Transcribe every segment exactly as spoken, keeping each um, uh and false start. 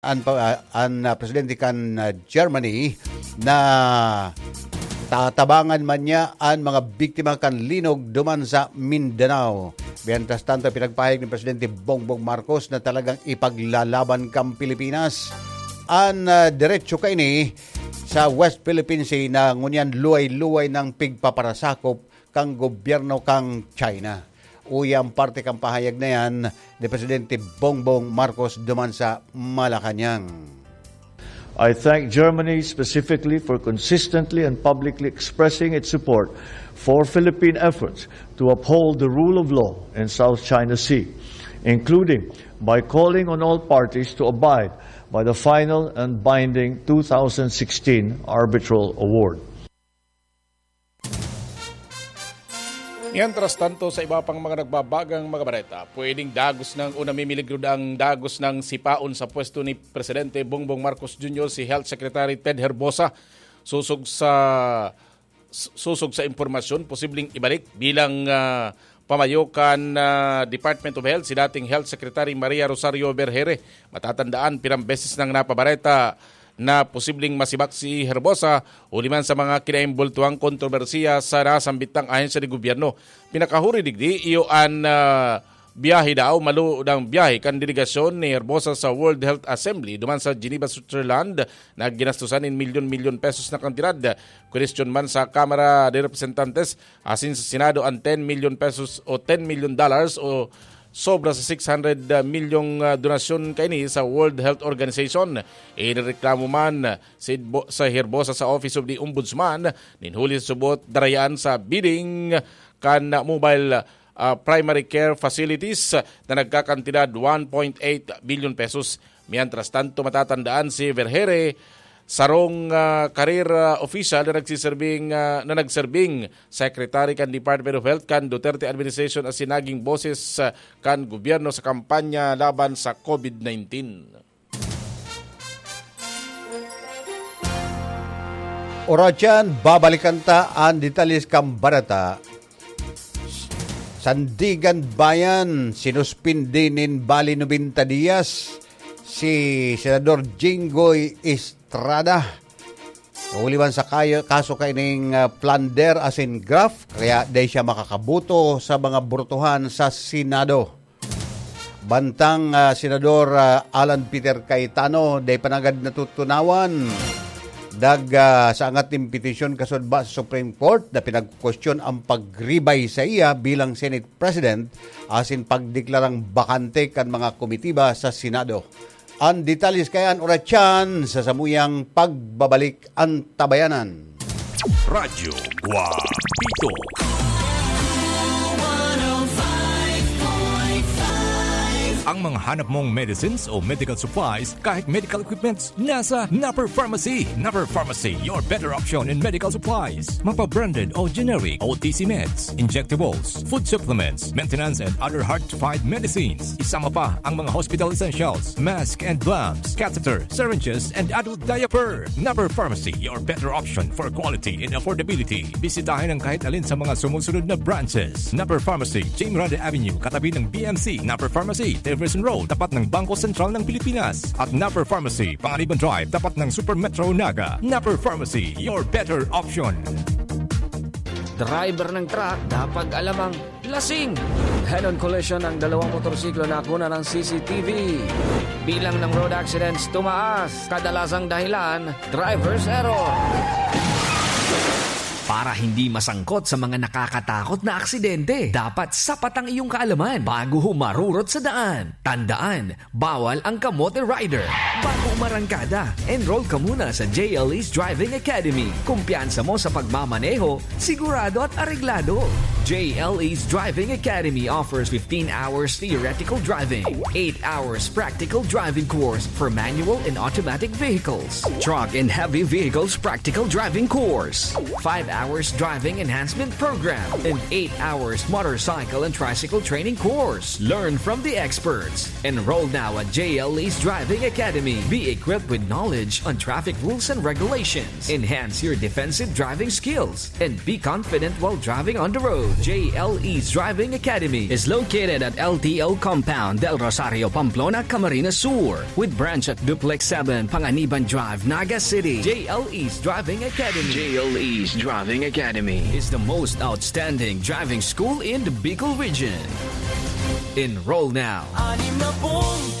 an pa-, an, ah, presidente kan, ah, Germany na tatabangan man niya an mga biktima kan linog duman sa Mindanao. Mientras tanto, pinagpahayag ni Presidente Bongbong Marcos na talagang ipaglalaban kan Pilipinas an, ah, derecho kaini sa West Philippine Sea na ngunyan luway-luway nang pigpaparasakop kan gobyerno kan China. Uya ang parte kan pahayag na yan ni Presidente Bongbong Marcos duman sa Malacañang. I thank Germany specifically for consistently and publicly expressing its support for Philippine efforts to uphold the rule of law in South China Sea, including by calling on all parties to abide by the final and binding two thousand sixteen arbitral award. Mientras tanto, sa iba pang mga nagbabagang mga bareta, pwedeng dagos ng o namimiligro ang dagos ng sipaon sa pwesto ni Presidente Bongbong Marcos Junior si Health Secretary Ted Herbosa. Susog sa, susog sa impormasyon, posibleng ibalik bilang, ah, pamayo kan, ah, Department of Health si dating Health Secretary Maria Rosario Vergeire. Matatandaan, pirang beses nang napabareta na posibleng masibak si Herbosa huli man sa mga kinaimbultuhang kontrobersiya sa nasambit na ahensya de gobyerno. Pinakahuri digdi, iyo an, ah, biyahe daw, malo ng biyahe kan delegasyon ni Herbosa sa World Health Assembly duman sa Geneva, Switzerland, na ginastusan nin milyon-milyon pesos na kantidad. Kwestiyon man sa Kamara de Representantes asin sa Senado an ten milyon pesos o ten milyon dollars o sobra sa six hundred milyong, ah, donasyon kaini sa World Health Organization. Inireklamo man si Bo-, sa Herbosa sa Office of the Ombudsman nin huli sa subot darayaan sa bidding kan mobile, ah, primary care facilities na nagkakantidad one point eight billion pesos. Mientras tanto, matatandaan si Vergeire, sarong, ah, career, ah, official na nagsiserbing, ah, na nagserbing secretary kan Department of Health kan Duterte administration asin naging boses, ah, kan gobyerno sa kampanya laban sa COVID nineteen. Oratyan, babalikan ta an detalye kan bareta. Sandiganbayan, sinuspindi nin bali nobenta diyas si Senador Jinggoy Estrada. Huli man sa kayo, kaso kaining, ah, plunder asin graft, kaya di siya makakaboto sa mga botohan sa Senado. Bantang, ah, Senador, ah, Alan Peter Cayetano, di pa nanggad natutunawan. Dag, ah, sa angat nin petisyon kasulba sa Supreme Court na pinagkwestiyon ang pagribay sa iya bilang Senate President asin pagdeklarang bakante kan mga komitiba sa Senado. Ang detalye kaya an oratyan sa samuyang pagbabalik an tabayanan. Radyo Guapito. Ang mga hanap mong medicines o medical supplies, kahit medical equipments, nasa Napper Pharmacy. Napper Pharmacy, your better option in medical supplies. Mapa-branded o generic, O T C meds, injectables, food supplements, maintenance and other hard-to-find medicines. Isama pa ang mga hospital essentials, mask and gloves, catheter, syringes, and adult diaper. Napper Pharmacy, your better option for quality and affordability. Bisitahin ang kahit alin sa mga sumusunod na branches. Napper Pharmacy, Jim Rande Avenue, katabi ng B M C. Napper Pharmacy, Jefferson Road, tapat ng Bangko Sentral ng Pilipinas. At Napper Pharmacy, Panganiban Drive, tapat ng Super Metro Naga. Napper Pharmacy, your better option. Driver ng truck, dapat alamang lasing. Head-on collision ng dalawang motorsiklo na kuna ng C C T V. Bilang ng road accidents tumaas. Kadalasang dahilan, driver's error. Para hindi masangkot sa mga nakakatakot na aksidente, dapat sapat ang iyong kaalaman bago humarurot sa daan. Tandaan, bawal ang kamote rider. Bago umarangkada, enroll ka muna sa J L E's Driving Academy. Kumpiyansa mo sa pagmamaneho, sigurado at areglado. J L E's Driving Academy offers fifteen hours theoretical driving, eight hours practical driving course for manual and automatic vehicles, truck and heavy vehicles practical driving course, five hours driving enhancement program, and eight hours motorcycle and tricycle training course. Learn from the experts. Enroll now at J L E's Driving Academy. Be equipped with knowledge on traffic rules and regulations. Enhance your defensive driving skills and be confident while driving on the road. J L E's Driving Academy is located at L T O Compound, Del Rosario, Pamplona, Camarines Sur, with branch at Duplex seven, Panganiban Drive, Naga City. J L E's Driving Academy. J L E's Driving Academy is the most outstanding driving school in the Bicol region. Enroll now.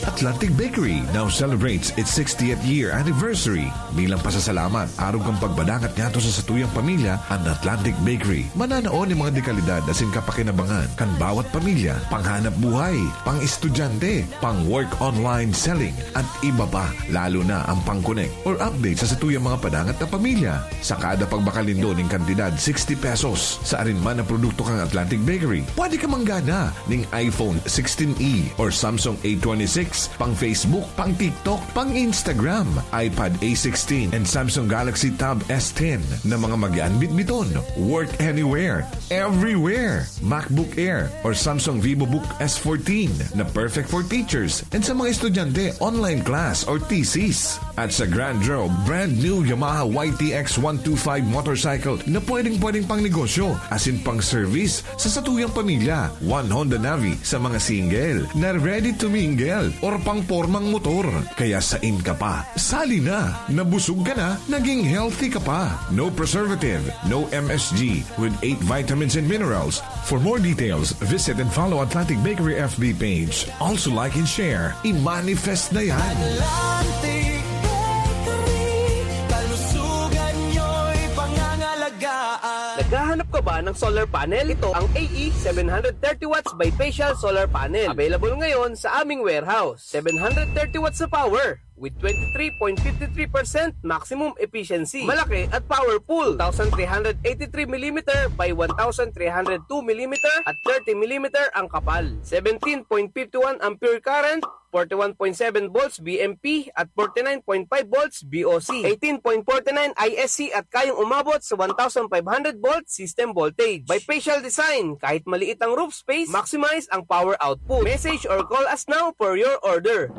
Atlantic Bakery now celebrates its sixtieth year anniversary. Bilang pasasalamat, arog kan pagpadangat ngadto sa satuyang pamilya, an Atlantic Bakery mananao nin mga dekalidad asin kapakinabangan kan bawat pamilya, panghanap buhay, pang-estudyante, pang-work online selling, at iba pa, lalo na ang pang-connect or update sa satuyang mga padangat na pamilya. Sa kada pagbakal nindo nin kantidad sixty pesos sa arin man na produkto kan Atlantic Bakery, pwede ka manggana ning iPhone sixteen E or Samsung A twenty-six, pang Facebook, pang TikTok, pang Instagram, iPad A sixteen, and Samsung Galaxy Tab S ten na mga magian bitbiton. Work anywhere, everywhere. MacBook Air or Samsung VivoBook S fourteen na perfect for teachers and sa mga estudyante, online class or thesis. At sa Grand Road, brand new Yamaha Y T X one two five motorcycle na pwedeng-pwedeng pang negosyo, asin pang service sa satuyang pamilya. One Honda Navi sa mga single na ready to mingle or pang pormang motor. Kaya sain ka pa? Sali na! Nabusog ka na, naging healthy ka pa. No preservative, no M S G, with eight vitamins and minerals. For more details, visit and follow Atlantic Bakery F B page. Also like and share. I-manifest na yan! Atlantic Bakery, kalusugan nyo'y pangangalagaan. Naghahanap ka ba ng solar panel? Ito ang A E seven hundred thirty watts bifacial solar panel. Available ngayon sa aming warehouse. Seven hundred thirty watts sa power with twenty-three point fifty-three percent maximum efficiency. Malaki at powerful. Two thousand three hundred eighty-three millimeter by one thousand three hundred two millimeter at thirty millimeter ang kapal. Seventeen point fifty-one ampere current, forty-one point seven volts V M P at forty-nine point five volts V O C. Eighteen point forty-nine I S C at kayang umabot sa one thousand five hundred volt system voltage. Bifacial design, kahit maliit ang roof space, maximize ang power output. Message or call us now for your order.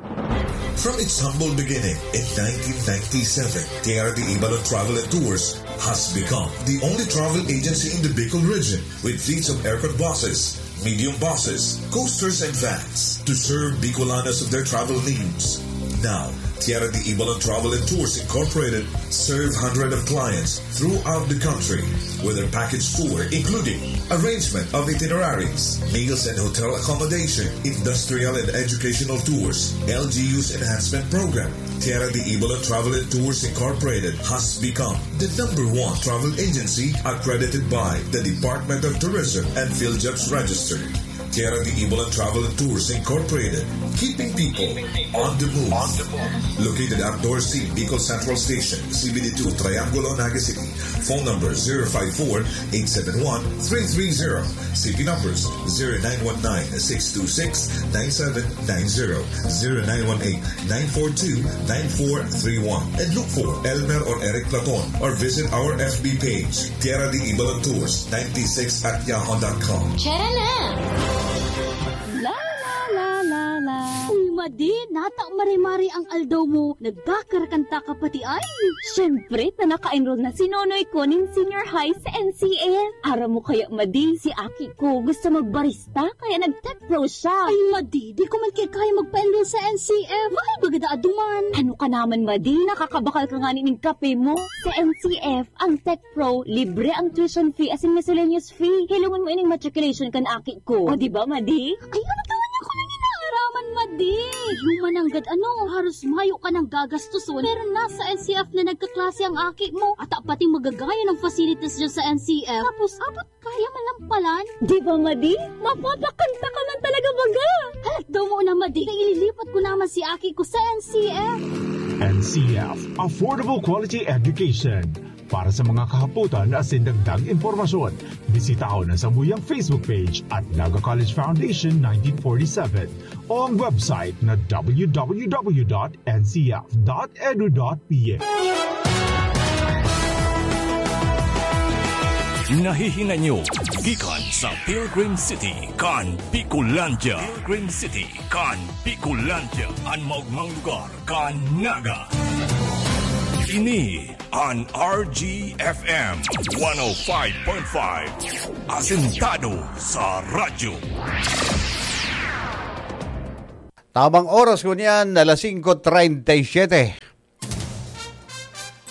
From its humble beginning in nineteen ninety-seven, Tierra de Ibalon Travel and Tours has become the only travel agency in the Bicol region with fleets of aircon buses, medium buses, coasters, and vans to serve Bicolanos of their travel needs. Now, Tierra de Ibalon Travel and Tours Incorporated serve hundreds of clients throughout the country with their package tour, including arrangement of itineraries, meals and hotel accommodation, industrial and educational tours, L G U's enhancement program. Tierra de Ibalon Travel and Tours Incorporated has become the number one travel agency accredited by the Department of Tourism and PhilJobs Register. Tierra de Ibalon Travel and Tours Incorporated, keeping people on the move. Located at Dorsi, Bicol Central Station, C B D two, Triangulo, Naga City. Phone number zero five four, eight seven one, three three zero. C P numbers zero nine one nine, six two six, nine seven nine zero, zero nine one eight, nine four two, nine four three one. And look for Elmer or Eric Platon or visit our F B page, Tierra de Ibalon Tours ninety-six at yahoo dot com. Tara na! La la la la la. Uy, Madi, nata mare-mare ang aldaw mo. Nagkakarakanta ka pati ay. Siyempre, ta naka-enroll na si Nonoy ko nin senior high sa N C F. Aram mo kaya, Madi, si aki ko gusto magbarista, kaya nag-tech pro siya. Ay, Madi, di ko man kaya magpa-enroll sa N C F. Mahal baga daa duman. Ano ka naman, Madi? Nakakabakal ka ngani ning kape mo. Sa N C F, ang tech pro, libre ang tuition fee asin miscellaneous fee. Hilongon mo ining matriculation kan aki ko. O, di ba, Madi? Ay, ano naman ako nang inaaraman, Madi? Human nanggad ano, haros mayo ka nang gagastuson. Pero nasa N C F na nagkaklase ang aki mo. Ata pating magagaya ng facilities dyan sa N C F. Tapos, abot kaya man lang palan. Di ba, Madi? Mapapakanta ka man talaga baga. Halat daw mo na, Madi. Kaya ililipat ko naman si aki ko sa N C F. N C F, Affordable Quality Education. Para sa mga kahapotan asin dagdag impormasyon, bisitahon ang sambuyang Facebook page at Naga College Foundation nineteen forty-seven o ang website na w w w dot n c f dot edu dot p h. Nahihinay nyo gikan sa Pilgrim City kan Bicolandia. Pilgrim City kan Bicolandia, an maogmang lugar kan Naga. Ini an R G F M one oh five point five, asentado sa radyo. Tamang oras ngunyan, alas singko treinta y siete.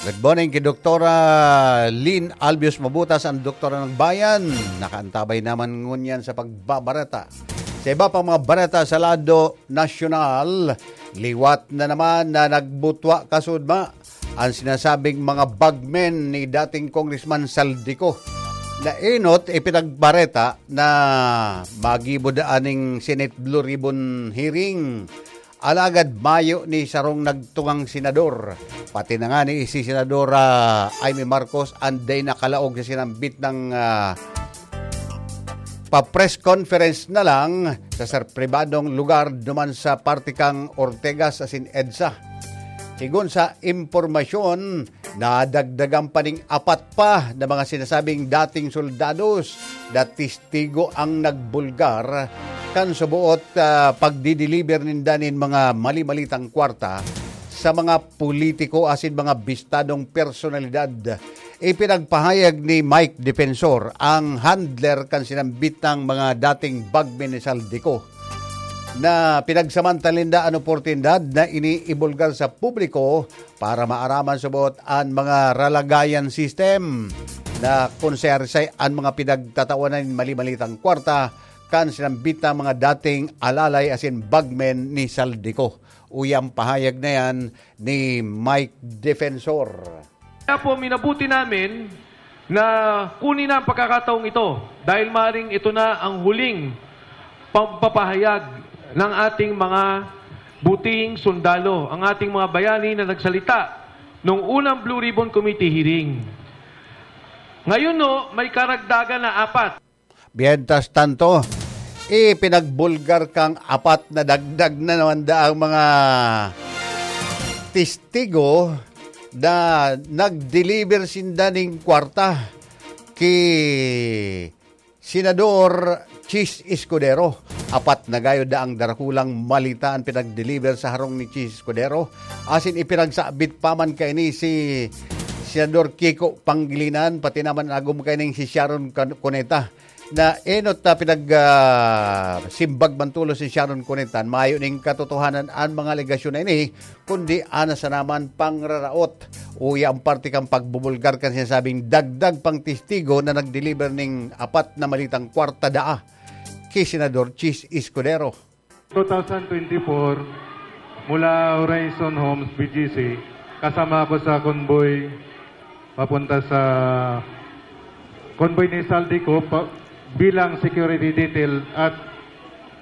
Good morning kay Doktora Lynn Albius Mabutas, ang Doktora ng Bayan. Nakaantabay naman ngunyan sa pagbabareta. Sa iba pang mga bareta sa lado nasyonal, liwat na naman na nagbutwa kasudma ang sinasabing mga bagmen ni dating Congressman Saldico. Naenot, ipinagbareta na magibo daa ning Senate Blue Ribbon hearing. Alagad mayo ni sarong nagtungang senador. Pati na nga ni si Senadora Imee Marcos, anday nakalaog sa sinambit ng, ah, pa-press conference na lang sa ser-, pribadong lugar duman sa parte kang Ortegas asin EDSA. Sigon sa impormasyon, nadagdagan pa ning apat pa na mga sinasabing dating soldados na testigo ang nagbulgar kan suboot, ah, pagdideliver ninda nin mga mali-malitang kwarta sa mga politiko asin mga bistadong personalidad. Ipinagpahayag ni Mike Defensor, ang handler kan sinambit ng mga dating bagmen ni Saldico, na pinagsamantala ninda an oportunidad na ini ibulgar sa publiko para maaraman subot an mga ralagayan system na kung sayarisay an mga pinagtatawanan nin mali-malitang kwarta kan sinambit na mga dating alalay asin bagmen ni Saldico. Uya ang pahayag na yan ni Mike Defensor. Kaya po, minabuti namin na kunin na ang pagkakataong ito dahil maring ito na ang huling pagpapahayag ng ating mga butihing sundalo, ang ating mga bayani na nagsalita nung unang Blue Ribbon Committee hearing. Ngayon, no, may karagdagan na apat. Mientras tanto, ipinagbulgar kang apat na dagdag na naman daang mga testigo na nag-deliver sinda ning kwarta ki Senador Chiz Escudero. Apat na gayod daang darakulang malita an pinag-deliver sa harong ni Chiz Escudero, asin ipinagsabit pa man kaini si Senador Kiko Pangilinan, pati naman an agom kaining si Sharon Can-, Cuneta. Na enot na pinag, ah, simbag man tolos si Sharon Cuneta, mayo ning katotohanan an mga alegasyon na ini, kundi ana sana man pangraraot. Uya ang parte kan pagbubulgar kan sinasabing dagdag pang testigo na nag-deliver ning apat na malitang kwarta daa ki Senador Chiz Escudero. Two thousand twenty-four, mula Horizon Homes, B G C, kasama ako sa convoy papunta sa convoy ni Saldico pa, bilang security detail at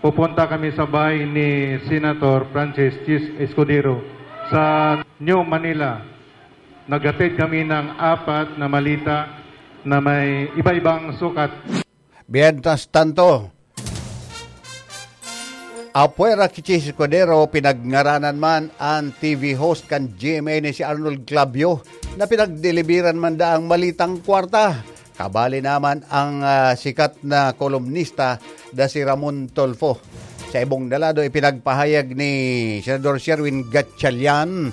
pupunta kami sa bahay ni Senator Francis Chiz Escudero sa New Manila. Naghatid kami ng apat na malita na may iba-ibang sukat. Mientras tanto, apwera ki Chiz Escudero, pinagngaranan man an T V host kan G M A na si Arnold Clavio, na pinagdeliveran man daang malitang kwarta. Kabali naman ang, ah, sikat na kolumnista na si Ramon Tulfo. Sa ibong dalado, ipinagpahayag ni Senador Sherwin Gatchalian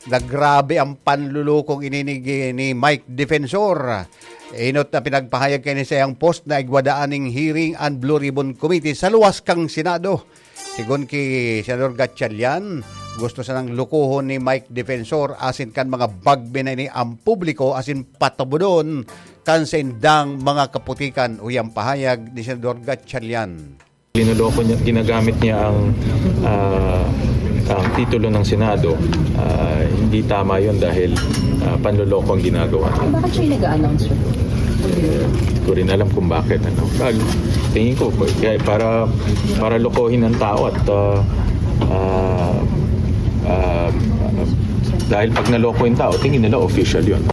na grabe ang panlulukong ini ni, ni Mike Defensor. Enot na pinagpahayag kaini sa iyang post na igwa daa ning hearing an Blue Ribbon Committee sa luwas kan Senado. Sigon ki Senador Gatchalian, gusto sanang lukohon ni Mike Defensor asin kan mga bagmen na ini ang publiko asin patabodon kan saindang mga kaputikan, uya ang pahayag ni Senador Gatchalian. Linuloko niya, ginagamit niya ang, ah, ang titulo ng Senado. Ah, hindi tama 'yon dahil, ah, panloloko ang ginagawa niya. Bakit siya yung nag-a-announce, sir? Hindi ko rin alam kung bakit, ano. Pag, tingin ko, kaya para, para lokohin ang tao at, ah, ah, ah, dahil pag naloko yung tao, tingin nila official 'yon.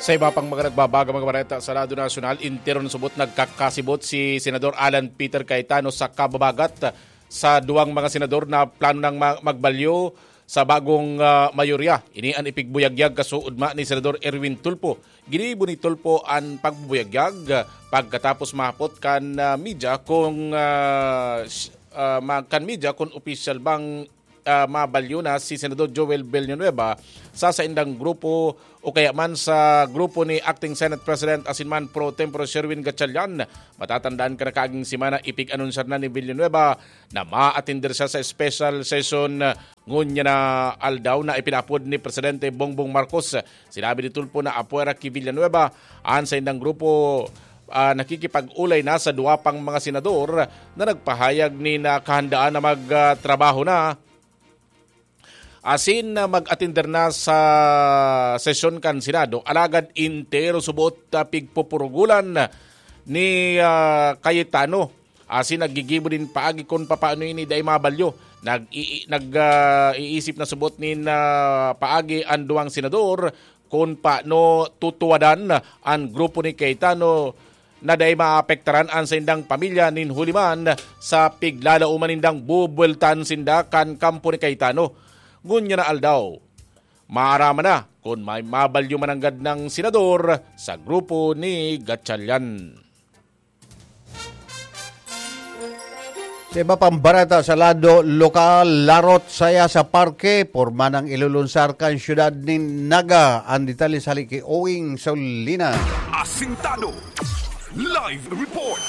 Sa iba pang mga nagbabagang mga bareta sa lado nasyonal, interon subot nagkakasibot si Senador Alan Peter Cayetano sa kababagat sa duwang mga senador na plano nang ma-, magbalyo sa bagong, ah, mayorya. Ini an ipigbuyagyag kasuodma ni Senador Erwin Tulfo. Ginibo ni Tulfo an pagbubuyagyag, ah, pagkatapos mahapot kan, ah, media kung, ah, s-, ah, ma-, kan media kung opisyal bang ah, mabalyo na si Senador Joel Villanueva sa saindang grupo o kaya man sa grupo ni Acting Senate President asin man pro tempore Sherwin Gatchalian. Matatandaan kan nakaaging semana, ipig-anunsar na ni Villanueva na maatender siya sa special session ngunyan na aldaw na ipinaapod ni Presidente Bongbong Marcos. Sinabi ni Tulfo na apwera ki Villanueva an saindang grupo, ah, nakikipag-olay na sa duwa pang mga senador na nagpahayag nin kahandaan na magtrabaho na asin, ah, mag-atender na sa sesyon kan Senado, alagad entero subot, ah, pigpupurugulan ni, ah, Cayetano. Asin naggigibo nin paagi kun papaano ini dai mabalyo. Nag-ii-, nag, ah, iisip na subot nin, ah, paagi an duwang senador kun paano tutuwadan an grupo ni Cayetano na dai maapektaran an saindang pamilya nin huli man sa piglalauman nindang bubueltan sinda kan kampo ni Cayetano. Ngunyan na aldaw, maaraman na kun may mabalyo mananggad ng senador sa grupo ni Gatchalian. Sa iba pang bareta sa lado lokal, larot saya sa parke, porma nang ilulunsar kan siyudad nin Naga. An detalye sa hali ki Owing Solina. Asintado. Live report.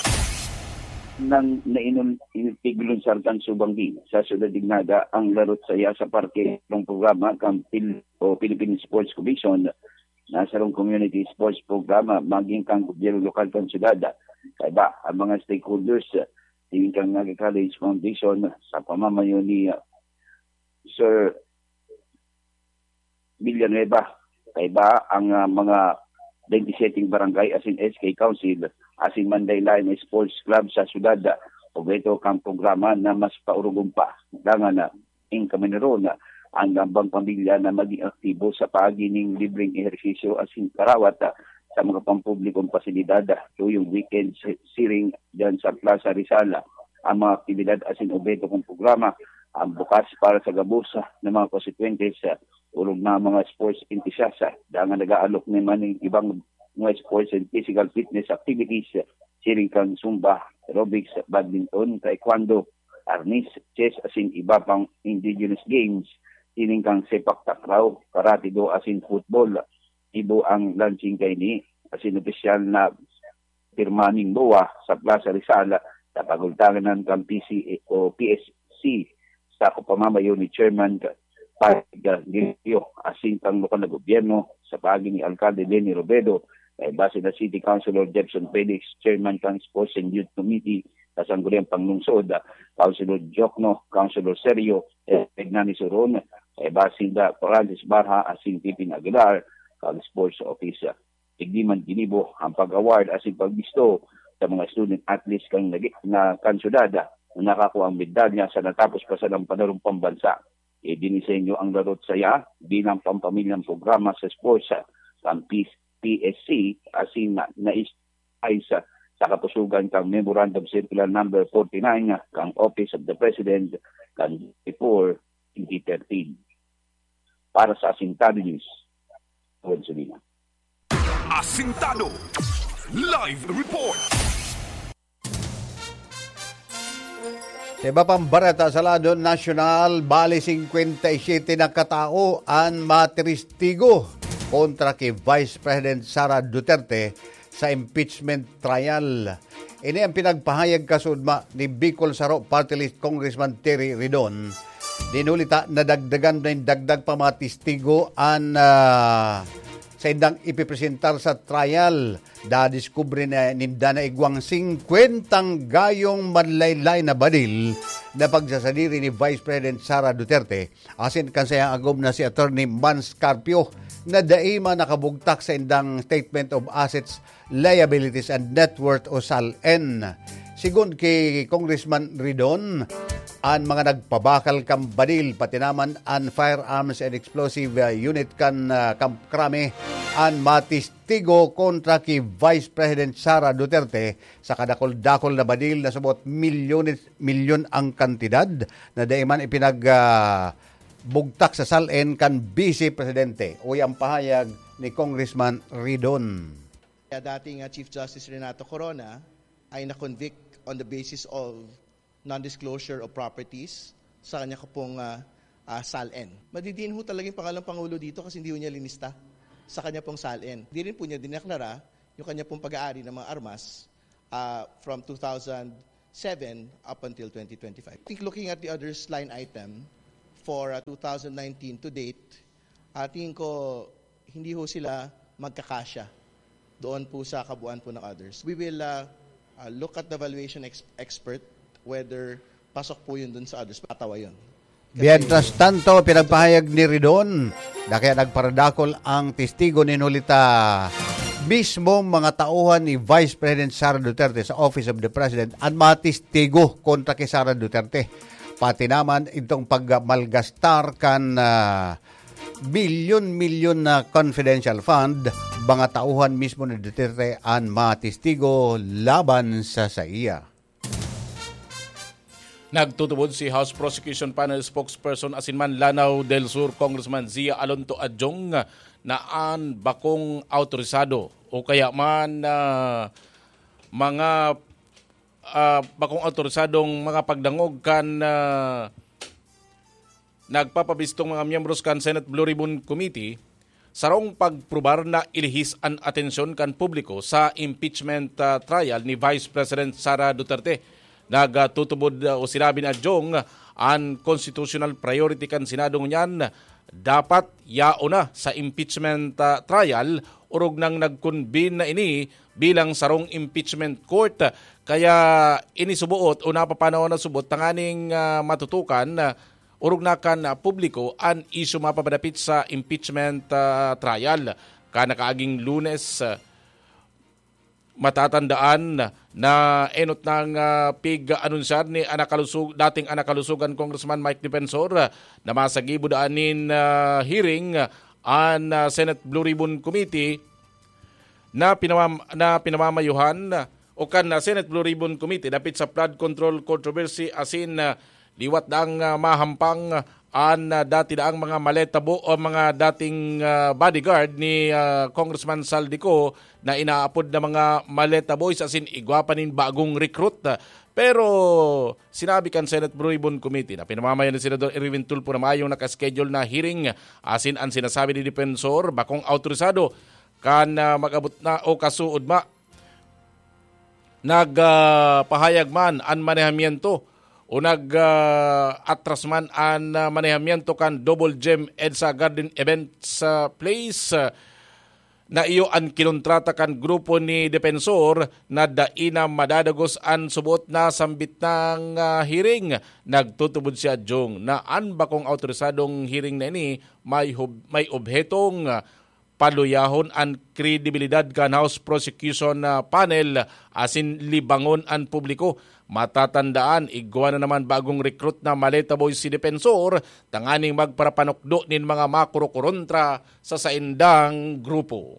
Nang nainul-, in-, iglunsar kan subanggi sa siyudad nin Naga ang larot saya sa parke ng programa kan Pil-, o Philippine Sports Commission na sarong community sports programa maging kan gobyerno lokal kan syudad. Kaiba ang mga stakeholders, tingin kan Naga College Foundation sa pamamayo ni, ah, Sir Villanueva. Kaiba ang, ah, mga twenty-seven barangay asin S K Council asin Manday Lion Sports Club sa syudad, obheto kan programa na mas paurugom pa. Dangan na in kamaniron, ang gambang pamilya na maging aktibo sa paagi ning libreng ehersisyo asin karawat sa mga pampublikong pasilidad tuyong weekend, si-, siring dyan sa Plaza Rizal. Ang mga aktibidad asin obheto kong programa ang bukas para sa gabos na mga konsekwentes, orog na mga sports enthusiast, dangan nag-aalok naman ning ibang mga sports and physical fitness activities, siring kan zumba, aerobics, badminton, taekwondo, arnis, chess, asin iba pang indigenous games, siring kan sepak takraw, karate do, asin football. Ibo ang launching kaini, asin opisyal na pirma ning BOA sa Plaza Rizal sa pagultangan kan P C A o P S C sa pamamayo ni Chairman Patrick Guilio, asin kan lokal na gobyerno sa paagi ni Alkalde Leni Robredo, kaiba sina City Councilor Jefferson Felix, Chairman kan Sports and Youth Committee sa Sangguniang Panglungsod, Councilor Jokno, Councilor Sergio, Hernani Suron, kaiba sinda Francis Barha asin Pipin Aguilar, kan Sports Officer. Digdi man ginibo ang pag-award asin pagbisto sa mga student athletes kan nagi-, na kan syudad na nakakua ang medalya sa natapos pa sanang panarong pambansa. Idinisenyo ang Larot Saya bilang pampamilyang programa sa sports kan P-, P S C asin na, nais-, ay sa, sa kapusugan kan Memorandum Circular Number forty-nine kan Office of the President kan before twenty thirteen. Para sa Asintado News, Juan Solina. Asintado Live Report. Sa iba pang bareta sa lado nasyonal, bali singkwenta y siyete na katao an matiristigo kontra ki Vice President Sara Duterte sa impeachment trial. Ini ang pinagpahayag kasuodma ni Bicol Saro Party List Congressman Terry Ridon. Dinuli ta, nadagdagan nin dagdag pa mga testigo an, ah, saindang ipipresentar sa trial. Dadiskubre na ninda na igwang singkwentang gayong manlaylay na badil na pagsasadiri ni Vice President Sara Duterte asin kan saiyang agom na si Attorney Mans Carpio na dai man nakabugtak sa indang Statement of Assets, Liabilities and Net Worth o SALN. Sigon ki Congressman Ridon, an mga nagpabakal kan badil, pati naman an firearms and explosive, uh, unit kan, uh, Camp Crame, an matistigo kontra ki Vice President Sara Duterte sa kadakul-dakul na badil na subot milyones, milyon ang kantidad na dai man ipinag, ah, bugtak sa SALN kan Vice Presidente. Uya ang pahayag ni Congressman Ridon. Kaya dating, ah, Chief Justice Renato Corona ay na-convict on the basis of non-disclosure of properties sa kanya ko pong, ah, ah, SALN. Madidiin ho talaga yung pangalang Pangulo dito kasi hindi ho niya linista sa kanya pong SALN. Di rin po niya dineklara yung kanya pong pag-aari ng mga armas, ah, from two thousand seven up until twenty twenty-five. I think looking at the others line item for, ah, two thousand nineteen to date, ah, tingin ko hindi ho sila magkakasya doon po sa kabuuan po ng others. We will, ah, ah, look at the valuation ex- expert whether pasok po yun dun sa others. Patawa yun. Kasi Mientras tanto, pinagpahayag ni Ridon na kaya nagparadakol ang testigo ni Nolita. Mismong mga tauhan ni Vice President Sara Duterte sa Office of the President an mga testigo kontra kay Sara Duterte. Pati naman itong pagmalgastar kan, ah, milyon-milyon na confidential fund, mga tauhan mismo ni Duterte an mga testigo laban sa saiya. Nagtutubod si House Prosecution Panel Spokesperson asin man Lanao del Sur Congressman Zia Alonto Adjong na an bakong awtorisado o kaya man, ah, mga, ah, bakong awtorisadong mga pagdangog kan, ah, nagpapabistong mga miyembros kan Senate Blue Ribbon Committee, sarong pagprubar na ilihis an atensyon kan publiko sa impeachment, ah, trial ni Vice President Sara Duterte. Nagtutubod, ah, o sinabi ni Adjong, an constitutional priority kan Senado ngunyan dapat yaon na sa impeachment, ah, trial, orog nang nag-convene na ini bilang sarong impeachment court. Kaya ini suboot o napapanahon na suboot tanganing, ah, matutukan, ah, orog na kan, ah, publiko an isyu mapapadapit sa impeachment, ah, trial. Kan nakaaging Lunes, ah, matatandaan na enot nang, ah, pig-anunsiyar ni anakalusog-, dating anakalusogan Congressman Mike Defensor, ah, na masagibo daan nin, ah, hearing, ah, an, ah, Senate Blue Ribbon Committee na pinamam-, na pinamamayuhan o kan, ah, Senate Blue Ribbon Committee dapit sa flood control controversy asin, ah, liwat daang, ah, mahampang an, ah, dati daang mga maleta bo-, o mga dating, ah, bodyguard ni, ah, Congressman Saldico na inaapod na mga maleta boys asin igwa pa nin bagong recruit. Pero sinabi kan Senate Blue Ribbon Committee na pinamamayan ni Senador Erwin Tulfo na mayong nakaschedule na hearing asin an sinasabi ni Defensor bakong awtorisado kan, ah, mag-abot na o kasuod ma nag, ah, pahayag man an manehamiento o nag, ah, atras man an, ah, manehamiento kan Double Gem EDSA Garden Events, ah, Place, ah, na iyo an kinontrata kan grupo ni Defensor na dai na madadagos an subot na sambit nang, ah, hearing. Nagtutubod si Adjong na an bakong awtorisadong hearing na ini may hub-, may obhetong, ah, paluyahon an kredibilidad kan House Prosecution, ah, Panel asin libangon an publiko. Matatandaan, igwa na naman bagong recruit na maleta boy si Defensor tanganing magparapanukdo nin mga makurokorontra sa saindang grupo.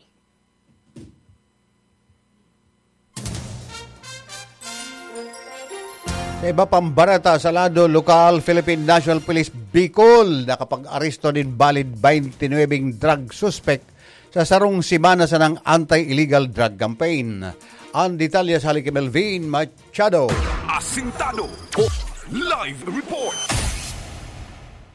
Sa iba pang bareta sa lado lokal, Philippine National Police Bicol nakapag-aresto nin valid twenty-nine drug suspect sa sarong semana sanang anti-illegal drug campaign. Ang detalye sa hali ki Melvin Machado. Asintado po. Live report.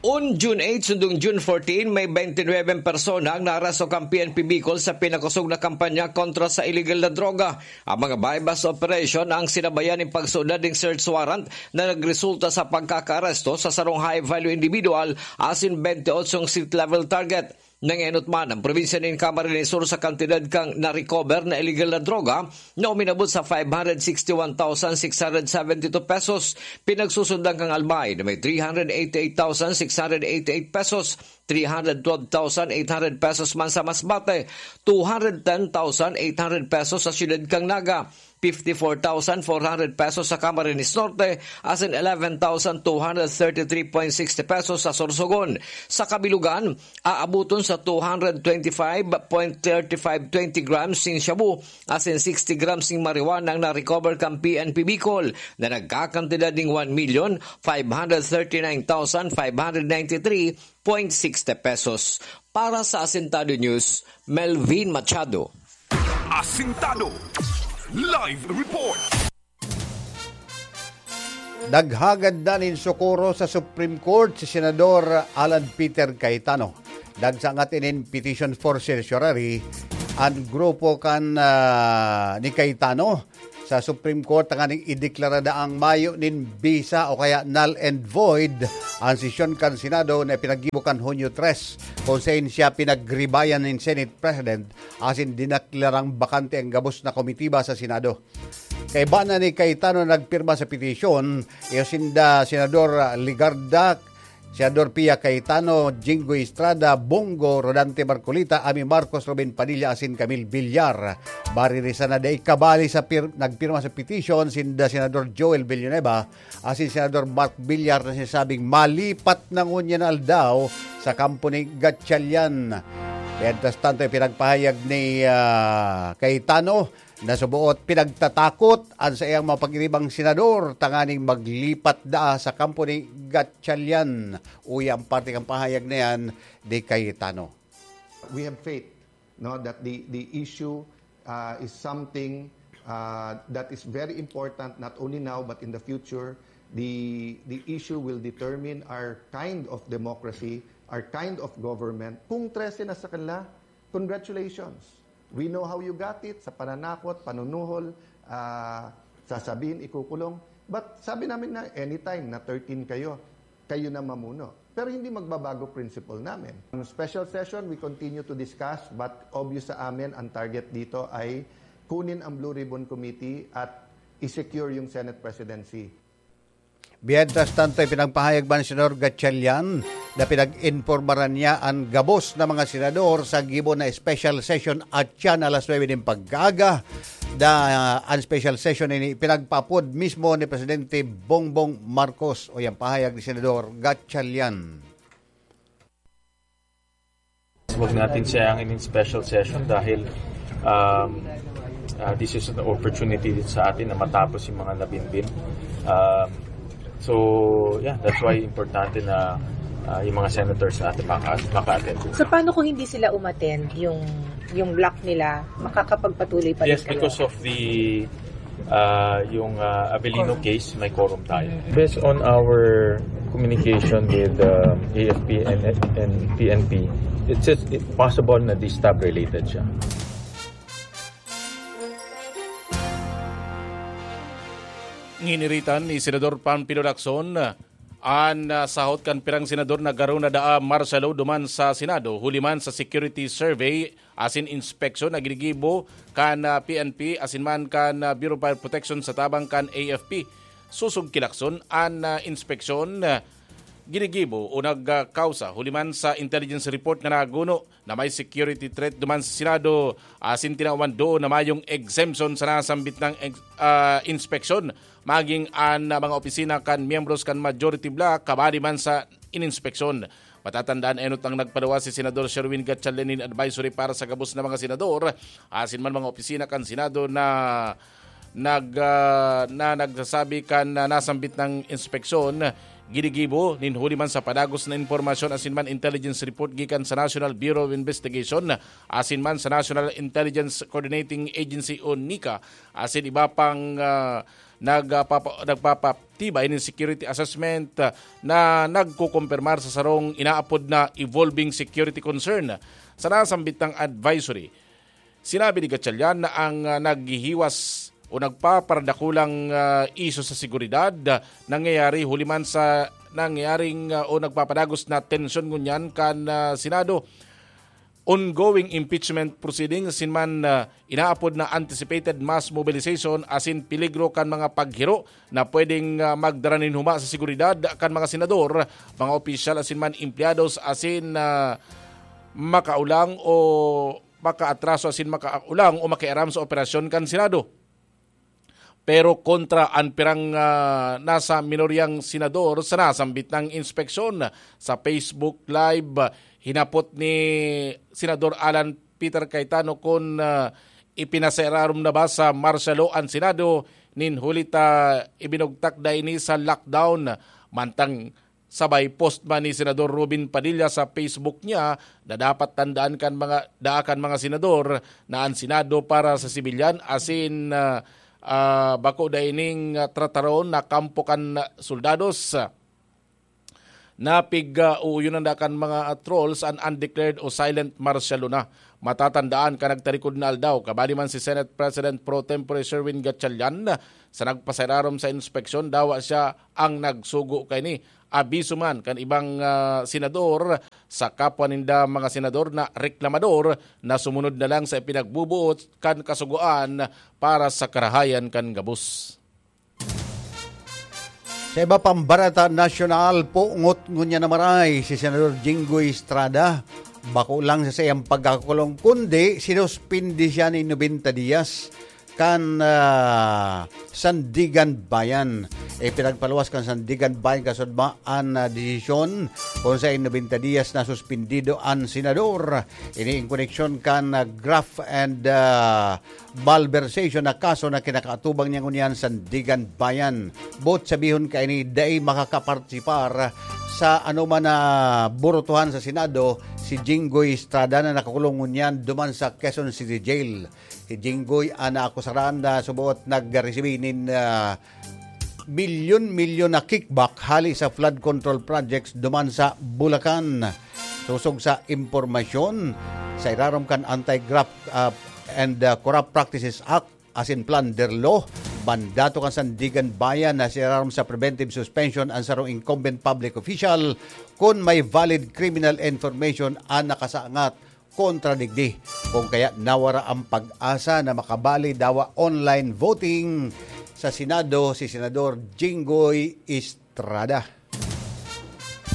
On June eight sundong June fourteen, may twenty-nine persona ang naaresto kan P N P Bicol sa pinakosog na kampanya kontra sa illegal na droga. Ang mga buy-bust operation ang sinabayan nin pagsuodad nin search warrant na nagresulta sa pagkakaaresto sa sarong high-value individual asin twenty-eight street-level target. Nangenot man ang probinsya nin Camarines Sur sa kantidad kan na-recover na illegal na droga na uminabot sa five hundred sixty-one thousand six hundred seventy-two pesos. Pinagsusundan kan Albay na may three hundred eighty-eight thousand six hundred eighty-eight pesos, three hundred twelve thousand eight hundred pesos man sa Masbate, two hundred ten thousand eight hundred pesos sa siyudad kan Naga, fifty-four thousand four hundred pesos sa Camarines Norte, asin eleven thousand two hundred thirty-three point sixty pesos sa Sorsogon. Sa kabilugan, aaboton sa two hundred twenty-five point thirty-five twenty grams nin shabu asin sixty grams nin marijuana ang na-recover kan P N P Bicol na nagkakantidad nin one million five hundred thirty-nine thousand five hundred ninety-three point sixty pesos. Para sa Asintado News, Melvin Machado. Asintado. Live report. Naghagad na nin sokoro sa Supreme Court si Senador Alan Peter Cayetano. Nagsangat inin petition for certiorari an grupo kan, ah, ni Cayetano sa Supreme Court tanganing ideklara na ang mayo nin bisa o kaya null and void an sesyon kan Senado na pinaggibo kan Hunyo tres, kung sain siya pinagribayan nin Senate President asin dineklarang bakante ang gabos na komitiba sa Senado. Kaiba na ni Cayetano na nagpirma sa petisyon, iyo sinda Senador Legarda, Senador Pia Cayetano, Jinggoy Estrada, Bong Go, Rodante Marcoleta, Amy Marcos, Robin Padilla asin Camille Villar. Baririsan na dai kabali sa pir-, nagpirma sa petisyon sinda Senador Joel Villanueva asin Senador Mark Villar na sinasabing malipat na ngunyan na aldaw sa kampo ni Gatchalian. Mientras tanto, ipinagpahayag ni, ah, Cayetano na suboot pinagtatakot an saiyang mga pag-iribang senador tanganing maglipat daa sa kampo ni Gatchalian. Uya ang parte kan pahayag na yan ni Cayetano. We have faith, no, that the, the issue, uh, is something, uh, that is very important, not only now but in the future. The, the issue will determine our kind of democracy, our kind of government. Kung trese na sa kanila, congratulations. We know how you got it, sa pananakot, panunuhol, ah, sasabihin, ikukulong. But sabi namin na anytime na thirteen kayo, kayo na mamuno. Pero hindi magbabago principle namin. Ang special session, we continue to discuss, but obvious sa amin, ang target dito ay kunin ang Blue Ribbon Committee at i-secure yung Senate presidency. Mientras tanto, ipinagpahayag man ni Senador Gatchalian na pinag-informaran niya an gabos na mga senador sa gibo na special session at siya na alas nuebe nin pag-aaga. Da, an special session ini pinagpapod mismo ni Presidente Bongbong Marcos. O yan, pahayag ni Senador Gatchalian. Huwag natin sayangin yung special session dahil um, uh, this is an opportunity din sa atin na matapos yung mga nabimbim. Um, so, yeah, that's why importante na uh, yung mga senators natin maka- maka-attend. So, paano kung hindi sila umattend, yung yung block nila, makakapagpatuloy pa rin Yes, kayo? Because of the uh, yung uh, Avelino case, may quorum tayo. Based on our communication with uh, A F P and, and P N P, it's just it possible na distab related siya. Giniritan ni Senador Panfilo Lacson an uh, sahot kan pirang senador na garo na daa martial law duman sa Senado, huli man sa security survey asin inspeksyon na ginigibo kan ah, P N P asin man kan ah, Bureau of Fire Protection sa tabang kan A F P. Sosog ki Lacson, an ah, inspeksyon ah, ginigibo o nagkausa huli man sa intelligence report nga naguno na may security threat duman sa Senado asin tinawan doon na mayong exemption sa nasambit ng ex- ah, inspeksyon, maging an ah, mga opisina kan miyembros kan majority bloc kabali man sa ininspeksyon. Matatandaan, enot ang nagpaluwas si Senador Sherwin Gatchalian nin advisory para sa gabos na mga senador asin man mga opisina kan Senado na nag ah, na nagsasabi kan na nasambit ng inspeksyon ginigibo nin huli man sa padagos na impormasyon asin man intelligence report gikan sa National Bureau of Investigation asin man sa National Intelligence Coordinating Agency o nika asin iba pang ah, nagpapa, nagpapatibay nin security assessment ah, na nagkukumpirmar sa sarong inaapod na evolving security concern. Sa nasambit ng advisory, sinabi ni Gatchalian na ang ah, naghihiwas o nagpaparadakulang ah, isyu sa seguridad ah, nangyayari huli man sa nangyayaring ah, o nagpapadagos na tensyon ngunyan kan ah, Senado, ongoing impeachment proceedings asin man ah, inaapod na anticipated mass mobilization asin peligro kan mga paghiro na pwedeng ah, magdara nin huma sa seguridad kan mga senador, mga opisyal asin man empleados asin ah, makaulang o makaatraso asin makaulang o makiaram sa operasyon kan Senado. Pero kontra an pirang ah, nasa minoryang senador sa nasambit ng inspeksyon. Sa Facebook Live, hinapot ni Senador Alan Peter Cayetano kun ah, ipinasararom na ba sa martial law an Senado nin huli ta ibinugtak da ini sa lockdown. Mantang sabay post man ni Senador Robin Padilla sa Facebook niya na dapat tandaan kan mga daa kan mga senador na an Senado para sa sibilyan asin ah, ah, bako da ining, ah, trataron na kampo kan soldados. Napig, ah, uuyonan da kan mga trolls an undeclared o silent martial law na. Matatandaan kan nagtarikod na aldaw, kabali man si Senate President Pro Tempore Sherwin Gatchalian, sa nagpasairarom sa inspeksyon, dawa siya ang nagsugo kaini. Abiso man kan ibang, ah, senador sa kapwa ninda mga senador na reklamador na sumunod na lang sa ipinagbubuot kan kasugoan para sa karahayan kan gabos. Sa iba pang barata nasyonal, pungot ngunyan na maray si Senador Jinggoy Estrada. Bako lang sa saiyang pagkakakulong, kundi sinuspindi siya ni nobenta diyas kan, ah, Sandigan Bayan. Ipinagpaluwas kan Sandigan Bayan kasudma an, ah, desisyon kung sa nobenta diyas na suspindido an senador. Ini in koneksyon kan, ah, graft and, ah, malversation na kaso na kinakaatubang niya ngunyan Sandigan Bayan. Boot sabihon kaini, dai makakapartisipar sa anoman na burutuhan sa Senado si Jinggoy Estrada na nakakulong ngunyan duman sa Quezon City Jail. Si Jinggoy an naakusaran na suboot nagresibi nin, ah, milyon-milyon na kickback hali sa flood control projects duman sa Bulacan. Sosog sa impormasyon, sa irarom kan Anti-Graft, ah, and, ah, Corrupt Practices Act asin Plunder Law, mandato kan Sandigan Bayan na sa irarom sa preventive suspension an sarong incumbent public official kun may valid criminal information an nakasaangat kontra digdi. Kung kaya nawara ang pag-asa na makabali dawa online voting sa Senado si Senador Jinggoy Estrada.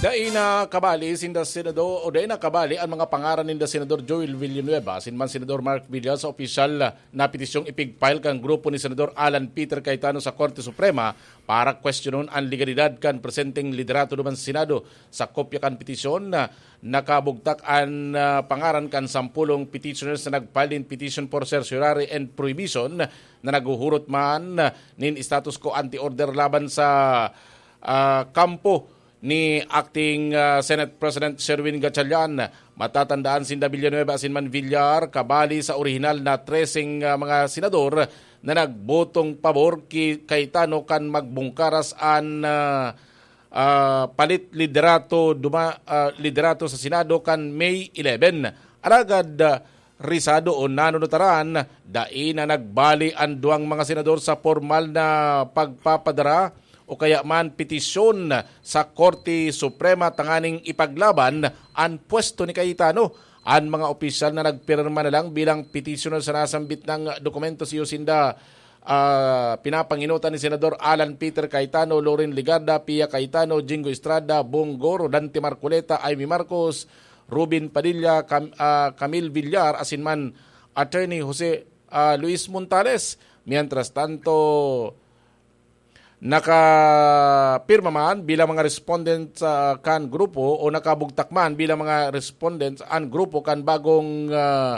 Dai na kabali sinda Senador, o dai na kabali ang mga pangaran ninda Senador Joel Villanueva asin man Senador Mark Villar sa opisyal na petisyong ipigfile kan grupo ni Senador Alan Peter Cayetano sa Korte Suprema para kwestiyonon an legalidad kan presenteng liderato duman sa Senado. Sa kopya kan petisyon, ah, nakabugtak an, ah, pangaran kan sampolong petitioners na nag-file nin petition for certiorari and prohibition na naghuhurot man, ah, nin status quo ante order laban sa, ah, kampo ni Acting, ah, Senate President Sherwin Gatchalian. Matatandaan sinda Villanueva asin man Villar, kabali sa orihinal na treseng, ah, mga senador na nagbotong pabor ki Cayetano kan magbungkaras an, ah, ah, palit liderato duma-, ah, liderato sa Senado kan May eleven. Alagad, ah, risado o nanunutaran, dai na nagbali an duwang mga senador sa pormal na pagpapadara o kaya man petisyon sa Korte Suprema tanganing ipaglaban an pwesto ni Cayetano. An mga opisyal na nagpirma na lang bilang petitioner sa nasambit na dokumento, iyo sinda, ah, pinapanginutan ni Senador Alan Peter Cayetano, Loren Legarda, Pia Cayetano, Jinggoy Estrada, Bong Go, Rodante Marcoleta, Imee Marcos, Robin Padilla, Cam-, ah, Camille Villar, asin man Attorney Jose, ah, Luis Montales. Mientras tanto, nakapirma man bilang mga respondent sa kan grupo o nakabugtak man bilang mga respondent an grupo kan bagong, ah,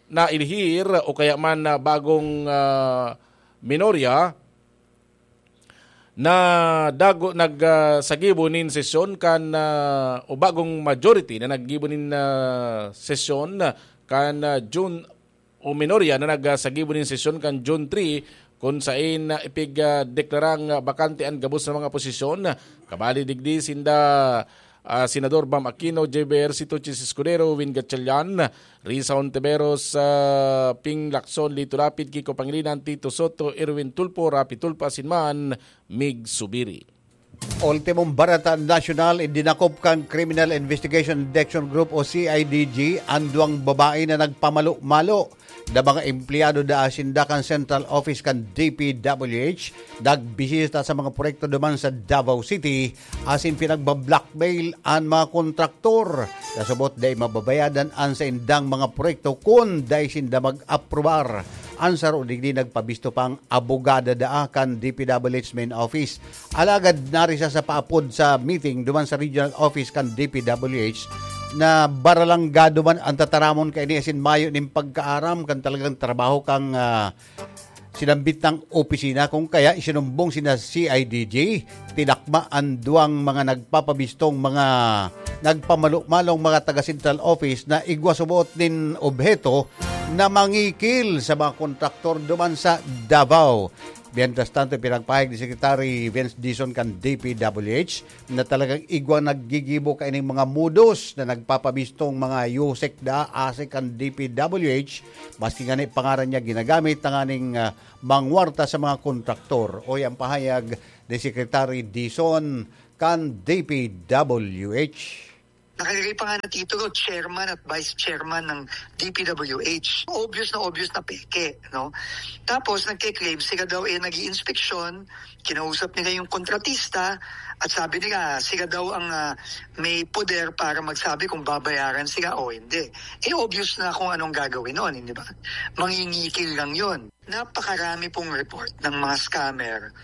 nailhir o kaya man na bagong, ah, minorya na dago nag, ah, sagibo nin sesyon kan, ah, o bagong majority na naggibo nin, ah, sesyon kan, ah, June o minorya na nagsagibo nin sesyon kan June three, kun sain, ah, ipig, ah, deklarang, ah, bakante an gabos na mga posisyon. Kabali digdi sinda, ah, Senador Bam Aquino, J B Ejercito, Chiz Escudero, Win Gatchalian, Risa Hontiveros, ah, Ping Lacson, Lito Lapid, Kiko Pangilinan, Tito Soto, Erwin Tulfo, Raffy Tulfo, asin man Mig Zubiri. Ultimong barata nasyonal, idinakop kan Criminal Investigation Detection Group o C I D G an duwang babae na nagpamalo-malo na mga empleyado da asin da kan Central Office kan D P W H, nagbisita sa mga proyekto duman sa Davao City asin pinagbablackmail an mga kontraktor. Kasubot, dai mababayadan an saindang mga proyekto kun dai sinda mag-aprobar. An saro digdi nagpabisto pang abogada daa kan D P W H main office. Alagad narisa sa paapod sa meeting duman sa regional office kan D P W H na baralangga duman an tataramon kaini asin mayo nin pagkaaram kan talagang trabaho kan, ah, sinambit na opisina. Kung kaya isinumbong sinda C I D G, tinakma an duwang mga nagpapabistong mga nagpamalo-malong mga taga Central Office na igwa subot nin obheto na mangikil sa mga kontraktor duman sa Davao. Mientras tanto, pinagpahayag ni Secretary Vince Dizon kan D P W H na talagang igwang naggigibo kaining mga modus na nagpapamistong mga yusek da asik kan D P W H, maski ngani pangaran niya ginagamit tanganing, ah, mangwarta sa mga kontraktor. Oy ang pahayag ni Secretary Dizon kan D P W H. Nakalagay pa nga na titulo, chairman at vice chairman ng D P W H. Obvious na obvious na peke, no? Tapos nagke-claim, sila daw eh nag-iinspeksyon, kinausap nila yung kontratista, at sabi nila, sila daw ang ah, may poder para magsabi kung babayaran sila o hindi. Eh obvious na kung anong gagawin noon, hindi ba? Mangingikil lang yon. Napakarami pong report ng mga scammer.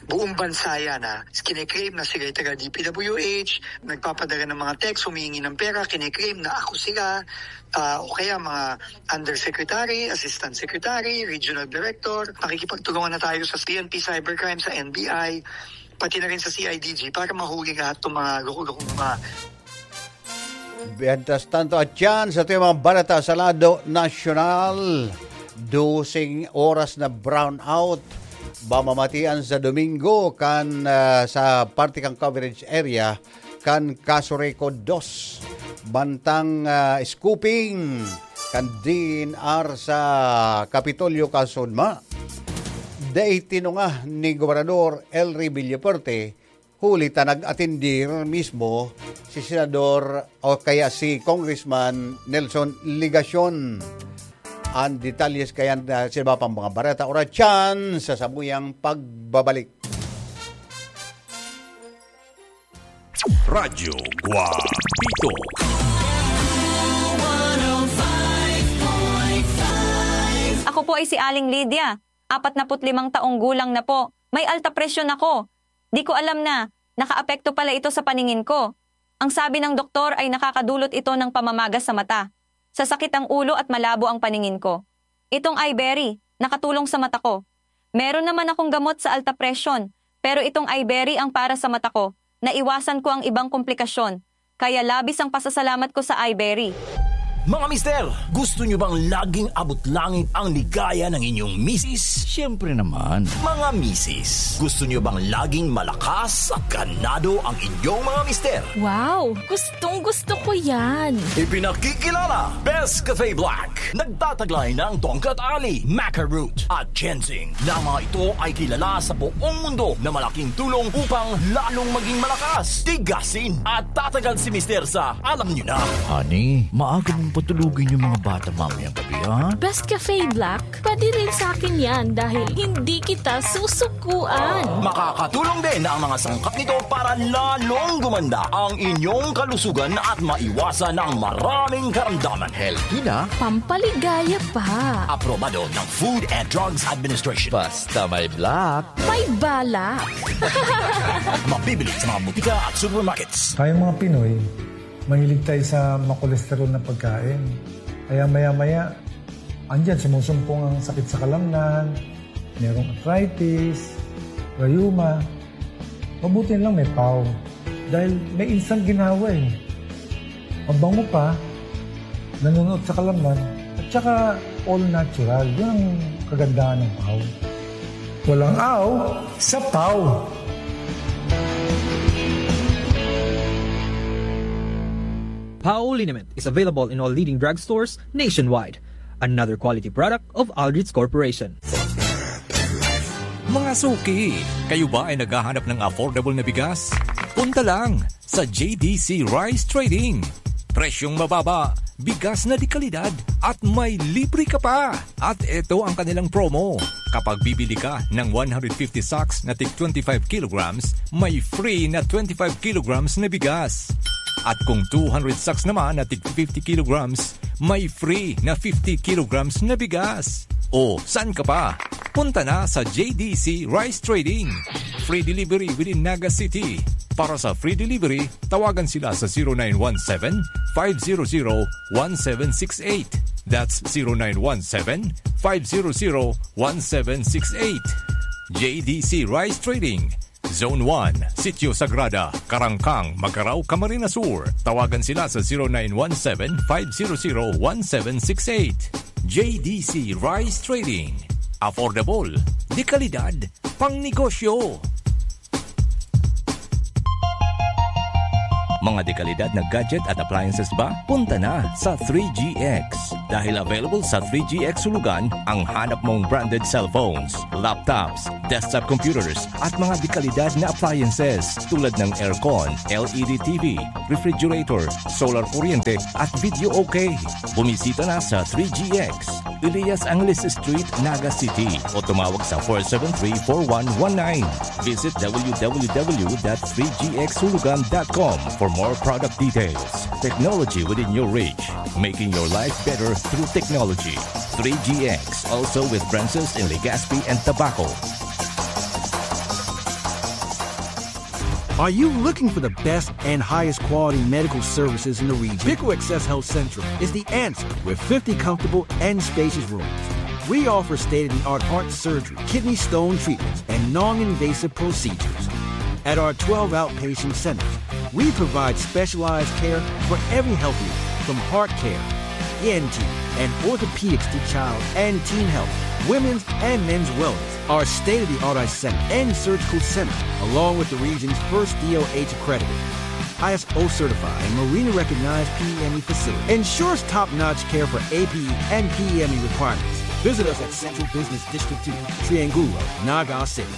Buong bansa yan, ha. Kine-claim na sila yung taga D P W H, nagpapadala ng mga text, humihingi ng pera, kine-claim na ako sila, ah, o kaya mga undersecretary, assistant secretary, regional director. Makikipagtulungan na tayo sa P N P Cybercrime, sa N B I, pati na rin sa C I D G para mahuli lahat ng mga loko-lokong mga Mientras tanto, at yan sa ating mga balita sa lado nasyonal, doseng oras na brownout mamamatian sa Domingo kan, ah, sa parte kan coverage area kan Casureco dos, bantang, ah, scooping kan D N R sa Kapitolyo, Kasudma. Dai tinunga ni Gobernador Elry Villafuerte, huli ta nag-atendir mismo si Senador o kaya si Congressman Nelson Legacion. Ang detalyes kaya na sa iba pang mga bareta, oras dyan sa samuyang pagbabalik. Radyo Guapito. Ako po ay si Aling Lydia. Apat na put limang taong gulang na po. May alta presyon ako. Di ko alam na nakaapekto pala ito sa paningin ko. Ang sabi ng doktor ay nakakadulot ito ng pamamaga sa mata, sasakit ang ulo at malabo ang paningin ko. Itong Iberry, nakatulong sa mata ko. Meron naman akong gamot sa alta presyon, pero itong Iberry ang para sa mata ko. Naiwasan ko ang ibang komplikasyon. Kaya labis ang pasasalamat ko sa Iberry. Mga mister, gusto nyo bang laging abot langit ang ligaya ng inyong misis? Siyempre naman. Mga misis, gusto nyo bang laging malakas at ganado ang inyong mga mister? Wow! Gustong gusto ko yan! Ipinakikilala, Best Cafe Black. Nagtataglay ng Tongkat Ali, Maca Root, at Ginseng, na mga ito ay kilala sa buong mundo na malaking tulong upang lalong maging malakas, tigasin, at tatagal si Mister sa alam nyo na. Honey, maaga mong patulugin yung mga bata mamayang gabi, ha? Best Cafe Black, pwede rin sa akin yan dahil hindi kita susukuan. Makakatulong din ang mga sangkap nito para lalong gumanda ang inyong kalusugan at maiwasan ang maraming karamdaman. Healthy na. Pampaligaya pa. Aprobado ng Food and Drugs Administration. Basta may black. May balak. Mabibili sa mga butika at supermarkets. Tayong mga Pinoy, mahilig tayo sa makolesterol na pagkain. Kaya maya-maya, andyan, sumusumpong ang sakit sa kalamnan, merong arthritis, rayuma. Mabuti lang may pau. Dahil may instant ginhawa eh. Mabango pa, nanunuot sa kalamnan, at saka all natural. Yun ang kagandahan ng pau. Walang aw sa pau. Pau liniment is available in all leading drugstores nationwide. Another quality product of Aldrich Corporation. Mga suki, kayo ba ay naghahanap ng affordable na bigas? Punta lang sa J D C Rice Trading. Presyong mababa, bigas na de kalidad, at may libre ka pa. At eto ang kanilang promo. Kapag bibili ka ng one hundred fifty sacks na tig twenty-five kilograms, may free na twenty-five kilograms na bigas. At kung two hundred sacks naman na tig fifty kilograms, may free na fifty kilograms na bigas. O, saan ka pa? Punta na sa J D C Rice Trading. Free delivery within Naga City. Para sa free delivery, tawagan sila sa zero nine one seven, five zero zero, one seven six eight. That's zero nine one seven, five zero zero, one seven six eight. J D C Rice Trading, Zone one, Sitio Sagrada, Karangkang, Magarao, Camarines Sur. Tawagan sila sa zero nine one seven, five zero zero, one seven six eight. J D C Rice Trading. Affordable, de kalidad, pang negosyo. Mga dekalidad na gadget at appliances ba? Punta na sa three G X. Dahil available sa three G X Hulugan ang hanap mong branded cellphones, laptops, desktop computers, at mga dekalidad na appliances tulad ng aircon, L E D T V, refrigerator, solar kuryente, at video okay. Bumisita na sa three G X, Elias Angeles Street, Naga City, o tumawag sa four seven three, four one one nine. Visit w w w dot three g x hulugan dot com for more product details. Technology within your reach, making your life better through technology. Three G X, also with branches in Legazpi and Tabaco. Are you looking for the best and highest quality medical services in the region? Pico Access Health Central is the answer with fifty comfortable and spacious rooms. We offer state-of-the-art heart surgery, kidney stone treatments, and non-invasive procedures. At our twelve outpatient centers, we provide specialized care for every health need, from heart care, E N T, and orthopedics to child and teen health, women's and men's wellness. Our state-of-the-art eye center and surgical center, along with the region's first D O H accredited, I S O certified, and Marina recognized P E M E facility, ensures top-notch care for A P E and P E M E requirements. Visit us at Central Business District two, Triangulo, Naga City.